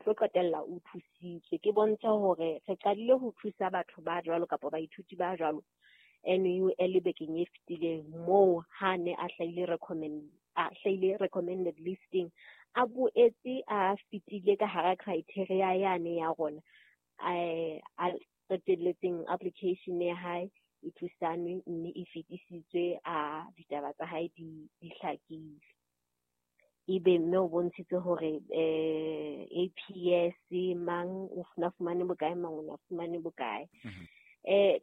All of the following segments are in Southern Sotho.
tlo qetella o thusitswe. Ke bontshe hore re qadile ho thusa batho ba jwalo kapa baithuti ba jwalo NUL bekeng e fetileng, moo ha ne a hlahile recommend a hlahile recommended listing, a boetse a fetile ka hara criteria yane ya rona, a qetelletseng application ya hae e thusanwe mme e fetisitswe, a ditaba tsa hae di hlakile. Ebe mme o bontshitse hore APS mang o na fumane bokae, mang o na fumane bokae.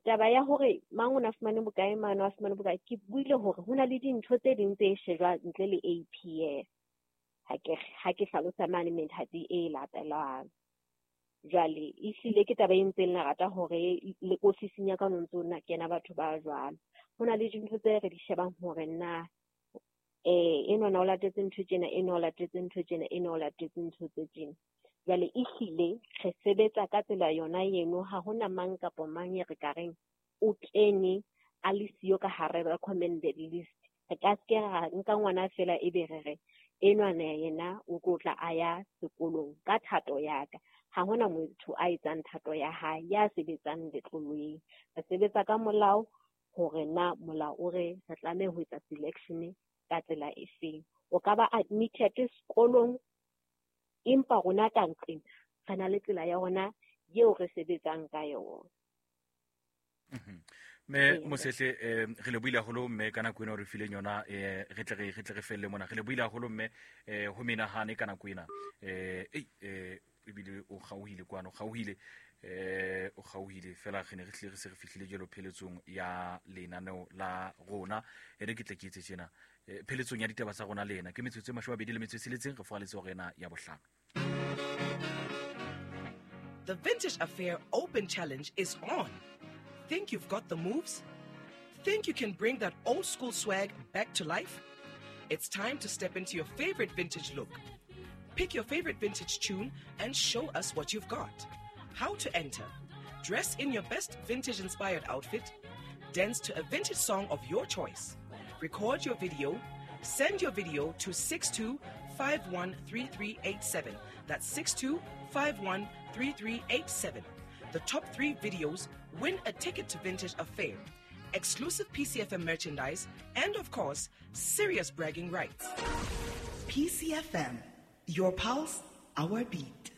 Taba ya hore mang o na fumane bokae, mang o fumane bokae, ke buile hore ho na le dintho tse ding tse shejwang ntle le APS. Ha ke hlalosa mane methati e latelang. Jwale ehlile ke taba e ntseng lerata hore le ofising ya ka no ntso na kena batho ba jwalo. Ho na le dintho tse re di shebang hore na enwa o latetse ntho tjena, enwa o latetse ntho tjena, enwa o latetse ntho tse tjena. Jwale ehlile re sebetsa ka tsela yona eno, ha hona mang kapa mang e re ka reng o kene a le siyo ka hare recommended list. Re ka se ra nka ngwana fela ebe re re enwa yena o tlo tla a ya sekolong ka thato ya ka. Ha hona motho a etsang thato ya hae ya sebetsang letloleng. Re sebetsa ka molao hore na molao o re re tlameha ho etsa selection ka tsela e feng. O ka ba admitted sekolong, empa rona ka nqeng re na le tsela ya rona eo re sebetsang ka yona. Mme Mosehle, re lebohile haholo mme ka nako ena o re fileng yona, re tle re felle mona. Re lebohile haholo mme ho menahane ka nako ena. Ebile o kgaohile kwano, o kgaohile fela re ne re hlile re se re fihlile jwalo pheletsong ya lenaneo la rona. E re ke tle ke etse tjena, pheletsong ya ditaba tsa rona le ena ke metsotso e 26, re foaletse hore ena ya bohlano. The Vintage Affair Open Challenge is on. Think you've got the moves? Think you can bring that old school swag back to life? It's time to step into your favorite vintage look. Pick your favorite vintage tune and show us what you've got. How to enter? Dress in your best vintage-inspired outfit. Dance to a vintage song of your choice. Record your video. Send your video to 62513387. That's 62513387. The top 3 videos win a ticket to Vintage Affair, exclusive PCFM merchandise, and of course, serious bragging rights. PCFM, your pulse, our beat.